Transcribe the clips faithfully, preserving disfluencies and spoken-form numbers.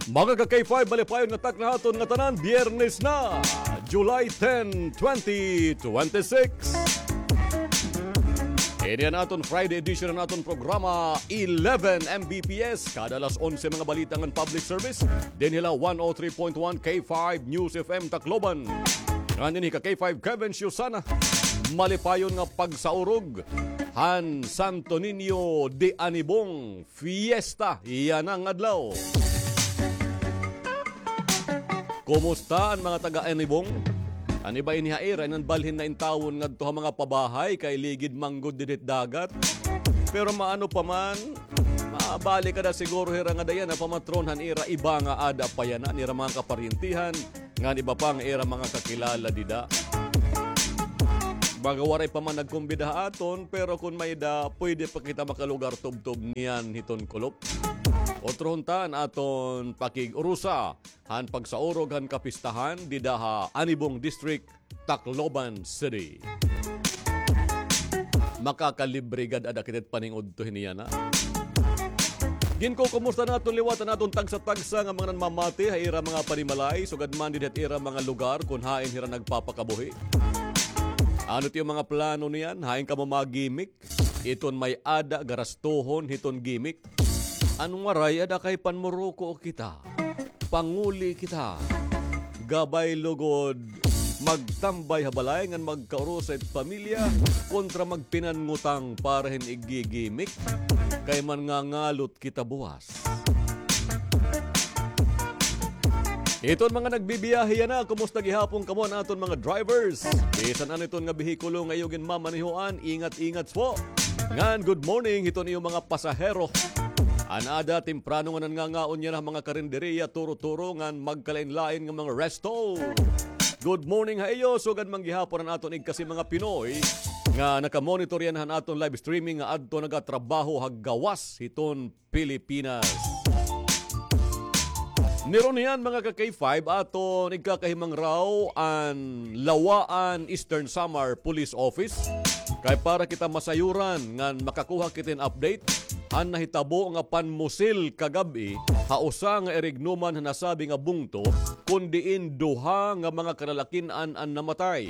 Mga ka-K five, malipayon nga takna ha aton ngatanan, Biyernes na, July ten, twenty twenty-six. Ini an aton Friday edition han aton programa, eleven M B P S. Kada alas onse, mga balita ngan public service. Dinhi la one oh three point one K five News F M Tacloban. Ngan ini ka-K five Kevin Siusana. Malipayon nga pagsaurog han Santo Niño de Anibong Fiesta yana nga adlaw. Kumusta an mga taga-Anibong? An iba ini ha ira, in-an balhin na intawon ngadto ha mga pabahay kay ligid man gud didi hit dagat. Pero maano pa man, mabalik ada siguro hira ngada yana pamatron han ira iba nga ada pa yana, an ira mga kaparyentihan, ngan iba pa nga ira mga kakilala dida. Baga waray pa man nagkumbida ha aton, pero kon may-ada, pwede pa kita makalugar tubtob niyan hiton kulop. Utrohon ta an aton pakig-urusa han pagsaurog han kapistahan dida ha Anibong District, Tacloban City. Makakalibre gad ada kita hit paning-udto hini yana. Ginkukumusta naton liwat an aton tagsa-tagsa nga mga nanmamati ha ira mga panimalay, sugad man didi ha ira mga lugar kon hain hira nagpapakabuhi. Ano it iyo mga plano niyan? Hain kamo magimik? Iton may-ada garastuhon hiton gimik. An waray, ada kay panmuruko kita. Panguli kita. Gabay lugod magtambay ha balay ngan magkaurusa it pamilya kontra magpinanngutang para hin igigimik. Kay manngangalot kita buwas. Iton mga nagbibiyahe yana, kumusta gihapon kamo an aton mga drivers? Bisan ano iton nga behikulo nga iyo ginmamanehoan, ingat-ingat po. Ngan good morning hiton iyo mga pasahero. An ada temprano nga nanngangaon yana ha mga karinderiya, turo-turo, ngan magkalain-lain nga mga resto. Good morning ha iyo, sugad man gihapon an aton igkasi mga Pinoy nga nakamonitor yana han aton live streaming nga adto nagatrabaho ha gawas hiton Pilipinas. Nirunian, mga ka-K five, aton igkakahimangraw an Lawaan Eastern Samar Police Office. Kay para kita masayuran ngan makakuha kita hin update han nahitabo nga panmusil kagab-i ha usa nga irignuman han nasabi nga bungto, kon diin duha nga mga kalalakin-an an namatay.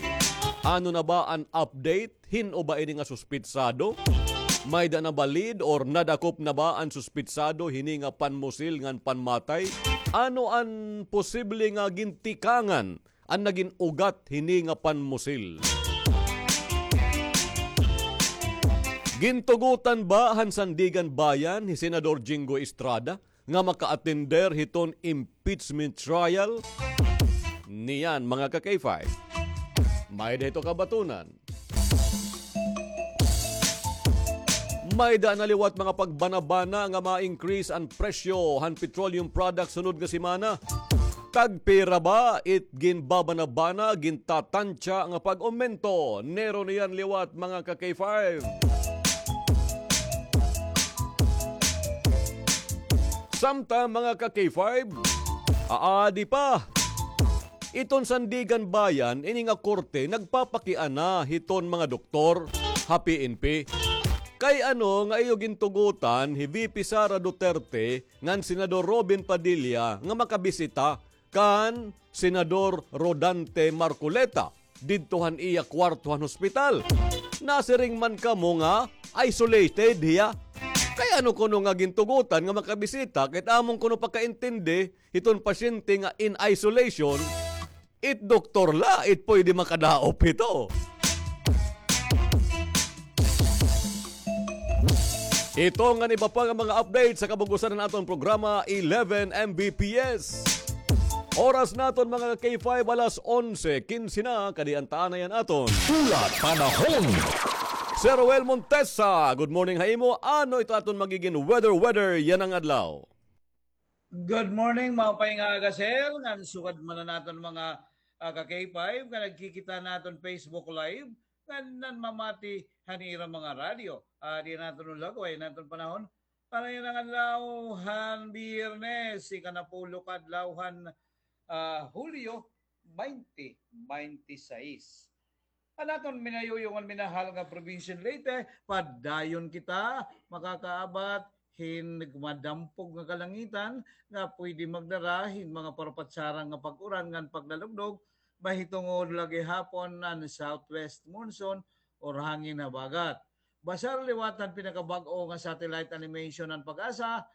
Ano na ba an update? Hin-o ba ini nga suspitsado? May-ada na ba lead or nadakop na ba an suspitsado hini nga panmusil ngan panmatay? Ano an posible nga gintikangan an nagin ugat hini nga panmusil? Gintugotan ba han Sandiganbayan hi Senador Jinggoy Estrada nga maka-attender hiton impeachment trial? Niyan, mga ka-K five. May-ada hito kabatunan. May-ada na liwat mga pagbanabana nga ma-increase an presyo han petroleum products sunod nga semana. Tagpira ba it ginbabanabana, gintatantya nga pag-umento? Nirunian liwat, mga ka-K five. Samtang, mga ka-K five, aadi pa. Iton Sandiganbayan, ini nga korte, nagpapakiana hiton mga doktor ha P N P. Kay ano nga iyo gintugotan hi V P Sara Duterte ngan Senador Robin Padilla nga makabisita kan Senador Rodante Marcoleta didto han iya kwarto han hospital. Nasiring man kamo nga isolated hiya. Kay ano kuno nga gintugotan nga makabisita, kay amon kuno pakaintindi hiton pasyente nga in isolation, it doktor la it pwede makadaop hito. Ito ngan iba pa nga mga update sa kabug-osan han aton programa, eleven M B P S. Oras naton, mga K five, alas onse kinse na, kadi an taanay an aton hulat panahon. Sir Roel Montesa, good morning ha imo. Ano ito aton magigin weather, weather yana nga adlaw? Good morning, maupay nga aga, sir, ngan sugad man an aton mga, ah, ka-K five nga nagkikita naton Facebook Live, ngan nanmamati han ira mga radyo. Ah, di naton ulagway an aton panahon. Para yana nga adlaw han Biyernes, ikanapulo ka adlaw han, ah, Hulyo, twenty twenty-six. An aton minayuyo ngan minahal nga probinsya han Leyte, padayon kita makakaabat hin madampog nga kalangitan nga pwede magdara hin mga parapatsaran nga pag-uran ngan paglalugdog, mahitungod la gihapon an southwest monsoon or hangin habagat. Basar liwat han pinakabag-o nga satellite animation han PAGASA,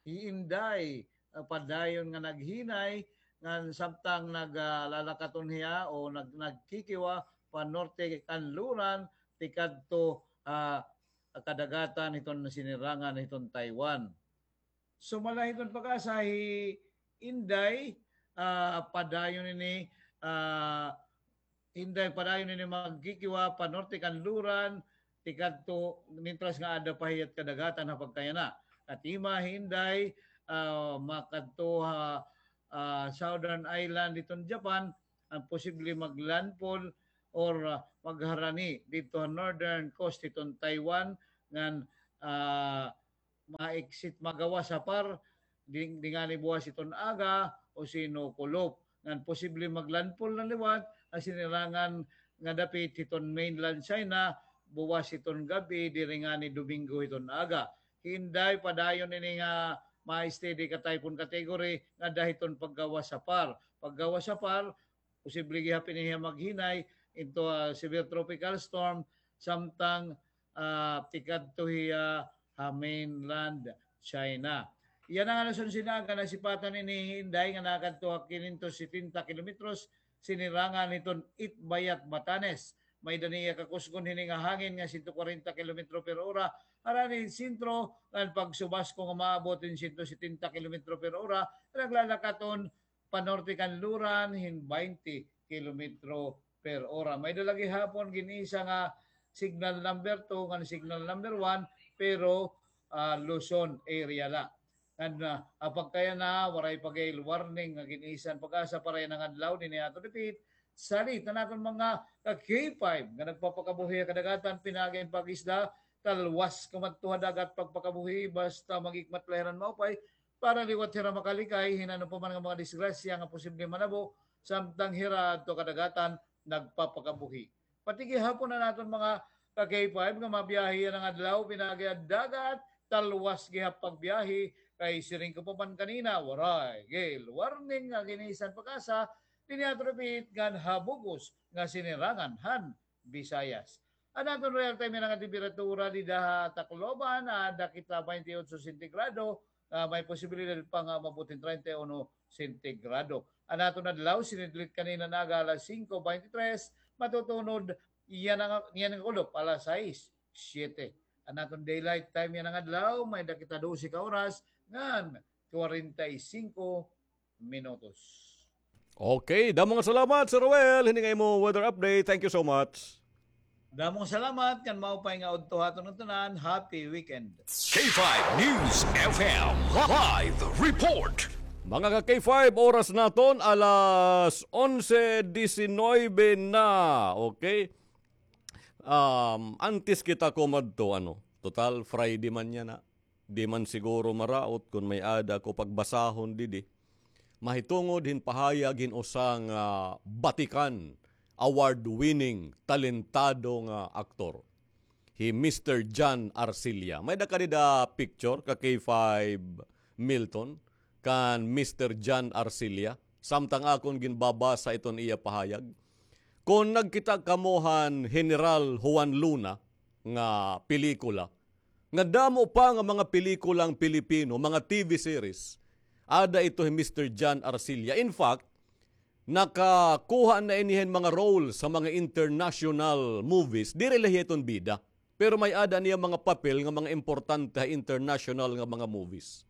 hi Inday, ah, padayon nga naghinay, ngan samtang nag, ah, lalakaton hiya o nag-, nagkikiwa panorte kanluran, tikadto, ah, kadagatan hiton sinirangan hiton Taiwan. Sumala hiton PAGASA, hi Inday, ah, padayon ini, ah, Inday padayon ini magkikiwa panorte kanluran, tikadto, mintras nga ada pa hiya kadagatan ha pagkayana. Katima hi Inday, ah, makadto ha, ah, southern island hiton Japan, an posible maglandfall or, ah, magharani didto ha northern coast hiton Taiwan, ngan, ah, ma-exit, magawas ha par, ding-, dingani buwas hiton aga o sino kulop. Ngan posible maglandfall na liwat an sinirangan nga dapit hiton mainland China, buwas hiton gab-i, diri ngani Domingo hiton aga. Hi Inday padayon ini nga ma-steady ka typhoon category nga ada hiton paggawas ha par. Paggawas ha par, posible gihap ini hiya maghinay into a severe tropical storm, samtang, ah, tikadto hiya ha mainland China. Yana nga alas onse nga aga, nasipatan ini hi Inday nga nakadto ha kinyentos setenta kilometros sinirangan hiton Itbayat, Batanes. May-ada niya kakusgon hini nga hangin nga sento kwarenta kilometro per ora, harani hin sentro, ngan pagsubasko nga maabot hin sento setenta kilometro per ora, naglalakaton panorte kanluran hin baynte kilometro per ora. May-ada la gihapon gin-isa nga signal number two ngan signal number one, pero, ah, Luzon area la. Ngan, ah, ha pagkayana, waray pa gihap warning nga gin-isa han PAGASA para yana nga adlaw, dinhi ato repeat, salit an aton mga ka-K five nga nagpapakabuhi ha kadagatan, pinaagi hin pag-isda, talwas kumadto ha dagat pagpakabuhi, basta maghikmat la hira hin maupay, para liwat hira makalikay hin ano pa man nga mga disgrasya nga posible manabo, samtang hira adto kadagatan nagpapakabuhi. Pati gihapon an aton mga ka-K five nga mabiyahe yana nga adlaw, pinaagi ha dagat, talwas gihap pagbiyahe, kay siring ko pa man kanina, waray gihap warning nga gin-isa han PAGASA, dinhi ato repeat, ngan ha bug-os nga sinirangan han Visayas. An aton real time yana nga temperatura dida ha Tacloban, ah, ada kita baynte otso sentigrado, ah, may posibilidad pa nga umabot hin treinta y uno sentigrado. An aton adlaw, sinidlit kanina nga aga alas singko baynte tres, matutunod yana nga, yana nga kulop alas sais, siyete. An aton daylight time yana nga adlaw, may-ada kita dose ka oras ngan kwarenta y singko minutos. Okay, damo nga salamat, Sir Roel, hini nga imo weather update. Thank you so much. Damo nga salamat, ngan maupay nga udto ha aton tanan. Happy weekend. K five News F M live report. Mga ka-K five, oras naton alas onse diecinueve na. Okay? Um, antes kita kumadto, ano, total Friday man yana. Di man siguro maraot kon may-ada ko pagbasahon didi. Mahitungod hin pahayag hin usa nga batikan, award-winning, talentado nga aktor, hi Mister John Arcilla. May-ada ka dida picture, ka-K five Milton, kan Mister John Arcilla? Samtang akon ginbabasa iton iya pahayag. Kon nagkita kamo han General Juan Luna nga pelikula, nga damo pa nga mga pelikulang Pilipino, mga T V series, ada ito hi Mister John Arcilla. In fact, nakakuha na ini hin mga roles sa mga international movies. Diri la hiya iton bida. Pero may-ada niya mga papel nga mga importante ha international nga mga movies.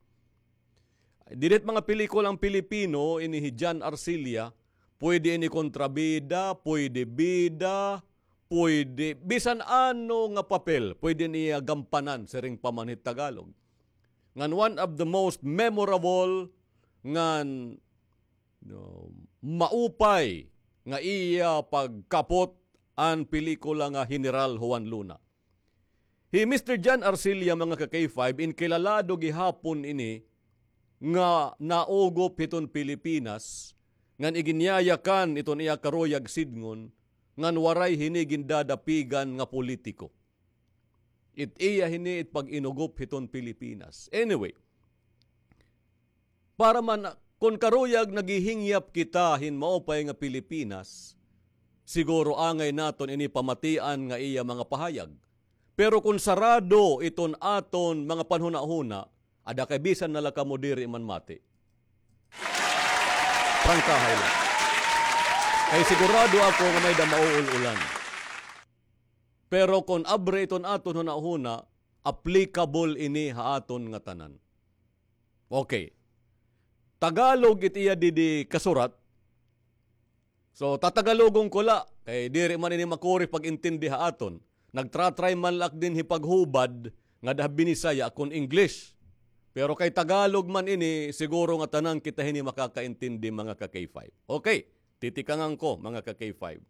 Diri it mga pelikulang Pilipino, ini hi John Arcilla, pwede ini kontrabida, pwede bida, pwede bisan ano nga papel, pwede niya gampanan, siring pa man hit Tagalog. Ngan one of the most memorable, ngan, no, maupay nga iya pagkapot an pelikula nga General Juan Luna. Hi Mister John Arcilla, mga ka-K five, inkilalado gihapon ini nga naugop hiton Pilipinas, ngan iginyayakan iton iya karuyag sidngon, ngan waray hini gindadapigan nga politiko. It iya hini it pag-inugop hiton Pilipinas. Anyway, para man, kon karuyag naghihingyap kita hin maupay nga Pilipinas, siguro angay naton ini pamatian nga iya mga pahayag. Pero kon sarado iton aton mga panhunahuna, ada kay bisan na la kamo diri man mati. Prangkahay la. Kay sigurado ako nga may-ada mauul-ulan. Pero kon abre iton aton hunahuna, applicable ini ha aton ngatanan. Okay. Tagalog it iya didi kasurat. So, tatagalogon ko la. Kay diri man ini makuri pag-intindi ha aton. Nagtra-try man la ak dinhi paghubad ngada ha Binisaya kon English. Pero kay Tagalog man ini, siguro nga tanan kita hini makakaintindi, mga ka-K five. Okay, titikangan ko, mga ka-K five.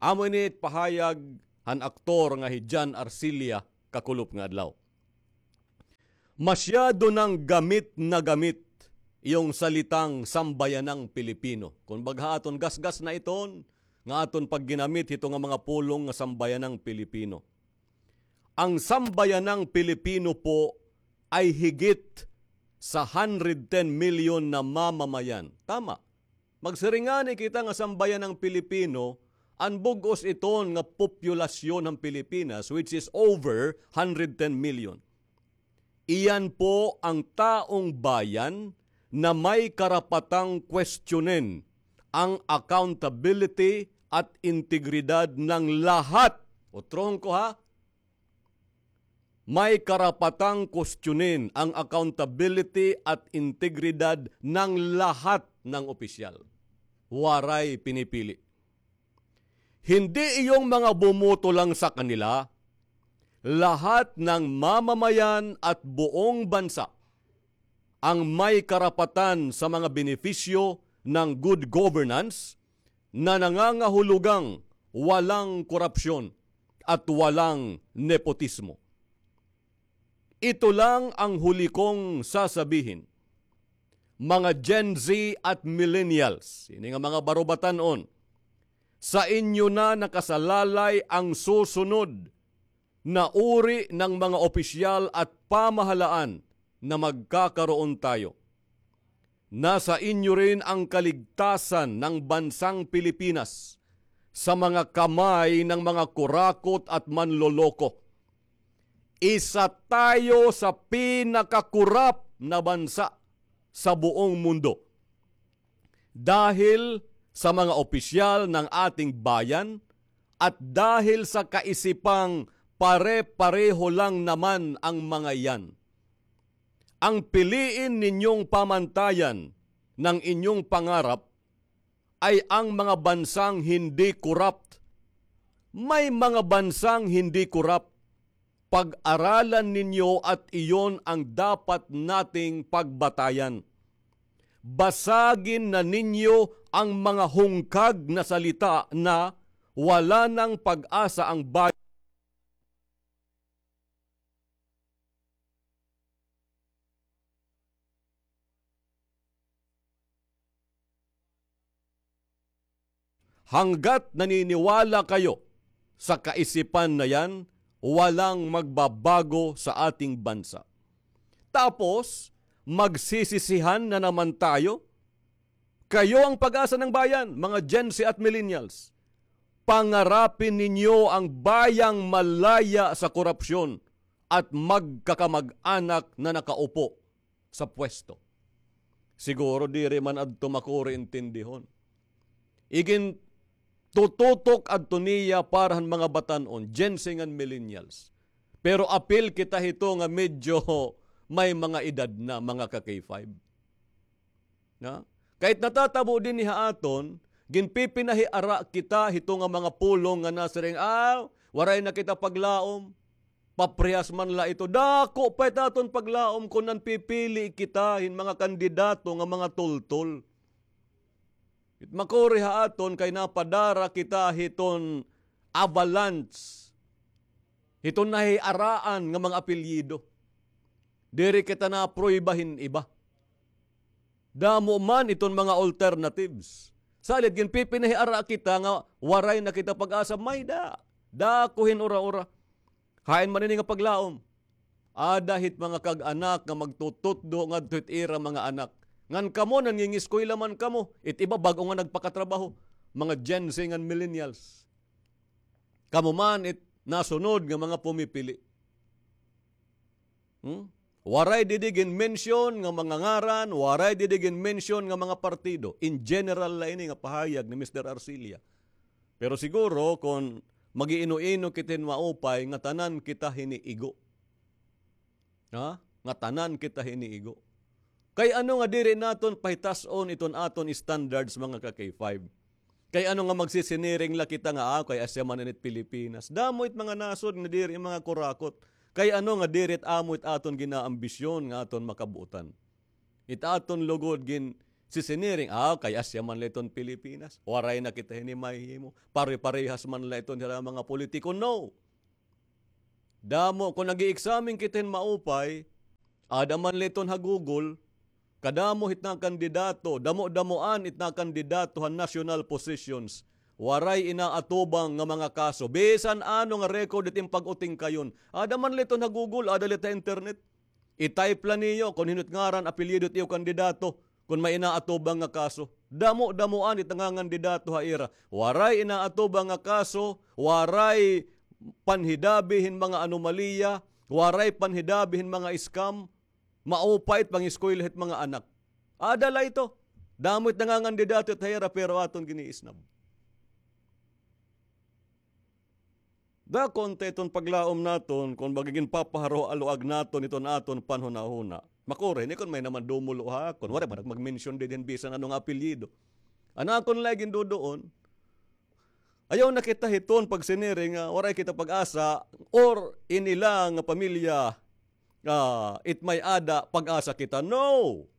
Amo ini it pahayag han aktor nga hi John Arcilla kakulop nga adlaw. Masyado nang gamit na gamit iyong salitang sambayanang Pilipino. Kumbaga ha aton gasgas na iton, nga aton pagginamit hito nga mga pulong nga sambayanang Pilipino. Ang sambayanang Pilipino po ay higit sa hundred ten million na mamamayan. Tama. Magsiring ngani kita nga sambayanang Pilipino, an bug-os iton nga populasyon han Pilipinas, which is over hundred ten million. Iyan po ang taong bayan na may karapatang kwestiyonin ang accountability at integridad ng lahat. Utrohon ko ha, may karapatang kwestiyonin ang accountability at integridad ng lahat ng opisyal. Waray pinipili. Hindi iyong mga bumoto lang sa kanila, lahat ng mamamayan at buong bansa ang may karapatan sa mga benepisyo ng good governance na nangangahulugang walang korupsyon at walang nepotismo. Ito lang ang huli kong sasabihin. Mga Gen Z at millennials, ini nga mga barubatan-on, sa inyo na nakasalalay ang susunod na uri ng mga opisyal at pamahalaan na magkakaroon tayo. Nasa inyo rin ang kaligtasan ng bansang Pilipinas sa mga kamay ng mga kurakot at manloloko. Isa tayo sa pinakakorap na bansa sa buong mundo. Dahil sa mga opisyal ng ating bayan at dahil sa kaisipang pare-pareho lang naman ang mga yan. Ang piliin ninyong pamantayan ng inyong pangarap ay ang mga bansang hindi korap. May mga bansang hindi korap. Pag-aralan ninyo at iyon ang dapat nating pagbatayan. Basagin na ninyo ang mga hungkag na salita na wala nang pag-asa ang bayan. Hanggat naniniwala kayo sa kaisipan na yan, walang magbabago sa ating bansa. Tapos, magsisisihan na naman tayo? Kayo ang pag-asa ng bayan, mga Gen Z at millennials. Pangarapin ninyo ang bayang malaya sa korupsyon at magkakamag-anak na nakaupo sa pwesto. Siguro diri man adto makuri intindihon. Igin tututok adto niya para han mga batan-on, Gen Z ngan millennials. Pero apil kita hito nga medyo may mga edad na, mga ka-K five. Na? Kahit natatabo dinhi ha aton, ginpipinahiara kita hito nga mga pulong nga nasiring, "Ah, waray na kita paglaom." Paprehas man la ito. Dako pa it aton paglaom kon nanpipili kita hin mga kandidato nga mga tultol. It makuri ha aton kay napadara kita hiton avalanche, hiton nahiaraan nga mga apelyido. Diri kita naprueba hin iba. Damo man iton mga alternatives. Salit ginpipinahiara kita nga waray na kita pag-asa, may-ada. Dako hin ura-ura. Hain man ini nga paglaom? Ada hit mga kag-anak nga magtututdo ngadto hit ira mga anak. Ngan kamo, nangingiskwela man kamo. It iba bag-o nga nagpakatrabaho. Mga Gen Z ngan millennials. Kamo man it nasunod nga mga pumipili. Hmm? Waray didi gin-mention nga mga ngaran, waray didi gin-mention nga mga partido. In general la ini nga pahayag ni Mister Arcilla. Pero siguro kon mag-iino-ino kita hin maupay, ngatanan kita hiniigo. Ha? Ngatanan kita hiniigo. Kay ano nga diri naton pahitas-on iton aton standards, mga ka-K five? Kay ano nga magsisiniring la kita nga, ah, kay asya man init Pilipinas? Damo it mga nasod nga diri mga kurakot. Kay ano nga diri it amo it aton ginaambisyon nga aton makabuotan? It aton lugod gin sisiniring, ah, kay asya man la iton Pilipinas. Waray na kita hini mahihimo. Pare-parehas man la iton hira mga politiko. No! Damo, kon nag-i-examine kita hin maupay, ada man la iton ha Google, kadamo hit nakandidato, damo-damoan it nakandidato han national positions. Waray inaatubang nga mga kaso. Bisan ano nga record it im pag-utingkayon. Ada man la iton ha Google, ada la it ha internet. I-type la niyo kon hin-o it ngaran, apelyido it iyo kandidato, kon may inaatubang nga kaso. Damo-damoan it nangangandidato ha ira. Waray inaatubang nga kaso, waray panhidabi hin mga anomalya, waray panhidabi hin mga scam, maupay it pangiskwela hit mga anak. Ada la ito. Damo it nangangandidato it ha ira, pero aton giniisnab. Dakon ta iton paglaom naton kon baga ginpapaharo-aluag naton iton aton panhunahuna. Makuri ini kon may naman dumulo ha akon. Waray man ak mag-mention didi hin bisan ano nga apelyido. An akon la ginduduon, ayaw na kita hiton pagsiniring nga waray kita pag-asa or ini la nga pamilya, ah, it may-ada pag-asa kita. No!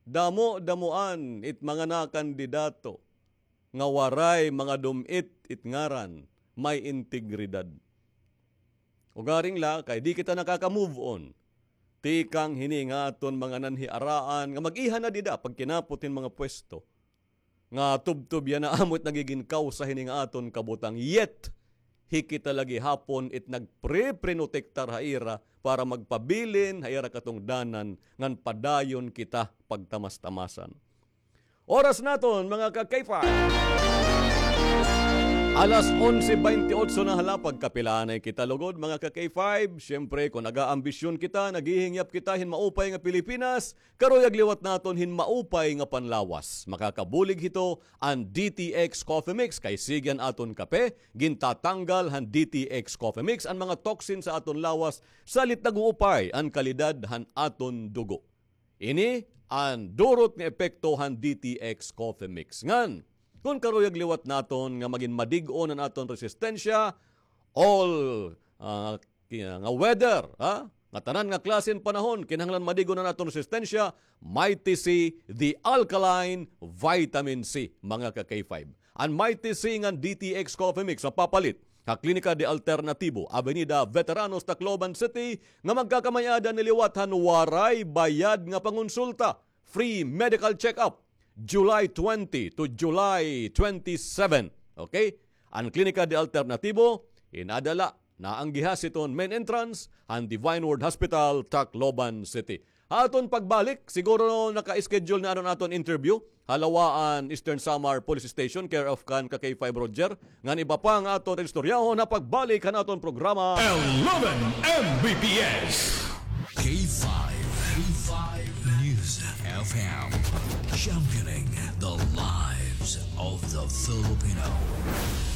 Damo-damoan it mga nakandidato nga waray mga dum-it it ngaran, may integridad. Ugaring la, kay di kita nakaka-move on tikang hini nga aton mga nanhiaraan nga mag-iha na dida pagkinapot hin mga pwesto. Nga tubtob yana amo it nagigin kawsa hini nga aton kabutang. Yet, hi kita la gihapon it nagpre-prinotektar ha ira para magpabilin ha ira katungdanan ngan padayon kita pagtamas-tamasan. Oras naton, mga ka-K five. Alas onse bente otso na hala, pagkapilanay kita lugod, mga ka-K five. Siyempre, kon nag-aambisyon kita, naghihingyap kita hin maupay nga Pilipinas, karuyag liwat naton hin maupay nga panlawas. Makakabulig hito an D T X Coffee Mix, kay sige an aton kape, gintatanggal han D T X Coffee Mix an mga toxin sa aton lawas, salit nag-uupay an kalidad han aton dugo. Ini an durot nga epekto han D T X Coffee Mix. Ngan, kon karuyag liwat naton nga magin madig-on an aton resistensya, all, ah, ki-, nga weather, ha? Nga tanan nga klase hin panahon, kinahanglan madig-on an aton resistensya, Mighty C, the alkaline vitamin C, mga ka-K five. An Mighty C ngan D T X Coffee Mix mapapalit ha Klinika de Alternatibo, Avenida Veteranos, Tacloban City, nga magkakamay-ada ini liwat han waray bayad nga pangonsulta, free medical check-up, July twenty to July twenty-seven. Okay? An Klinika de Alternatibo, in-ada la, naanggiha hiton main entrance han Divine Word Hospital, Tacloban City. Ha aton pagbalik, siguro naka-schedule na an aton interview ha Lawaan Eastern Samar Police Station, care of kan ka-K five Roger. Ngan iba pa nga aton istoryahon ha pagbalik han aton programa. Eleven M B P S. K five, K five News F M, championing the lives of the Filipino.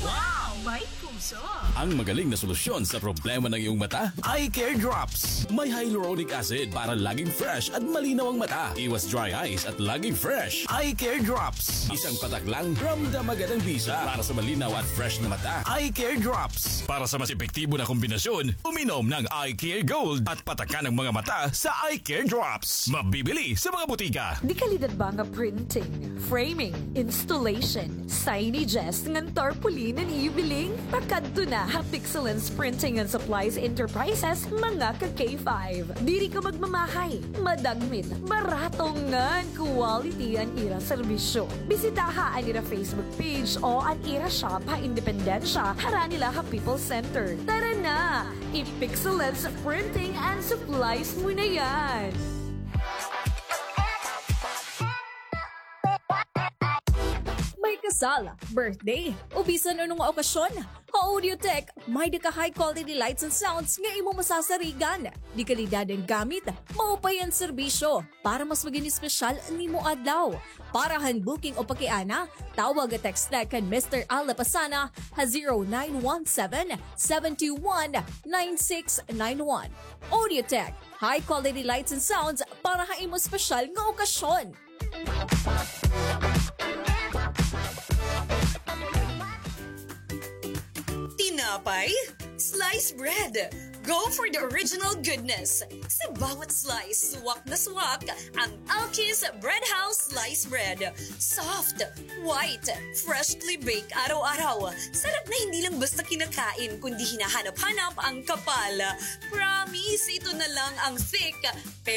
Wow! May puso! Ang magaling na solusyon sa problema ng iyong mata, Eye Care Drops. May hyaluronic acid para laging fresh at malinaw ang mata. Iwas dry eyes at laging fresh. Eye Care Drops. Isang patak lang, ramdam agad ang bisa. Para sa malinaw at fresh na mata, Eye Care Drops. Para sa mas epektibo na kombinasyon, uminom ng Eye Care Gold at patakan ang mga mata sa Eye Care Drops. Mabibili sa mga butika. Dekalidad ba nga printing, framing, installation, signages, ngan tarpaulin an iyo biling? Ta Kadto na ha Pixelance Printing and Supplies Enterprises, mga ka K five. Diri ka magmamahay, madagmit, barato ngan quality an ira serbisyo. Bisitaha an ira Facebook page o an ira shop ha Independencia, harani la ha People's Center. Tara na! I-Pixelance Printing and Supplies mo na yan! May kasal, birthday, o bisan ano nga okasyon, ha Audiotech, may-ada ka high quality lights and sounds nga imo masasarigan. Dekalidad an gamit, maupay an serbisyo. Para mas maging espesyal an imo adlaw. Para han booking o pakiana, tawag o text na kan Mister Al Lapasana ha zero nine one seven, seven two one, nine six nine one. Audiotech, high quality lights and sounds para ha imo espesyal nga okasyon. Tinapay? Slice bread! Go for the original goodness! Sa bawat slice, swak na swak ang Alki's Bread House Slice Bread. Soft, white, freshly baked araw-araw. Sarap na hindi lang basta kinakain, kundi hinahanap-hanap ang kapal. Promise, ito na lang ang thick,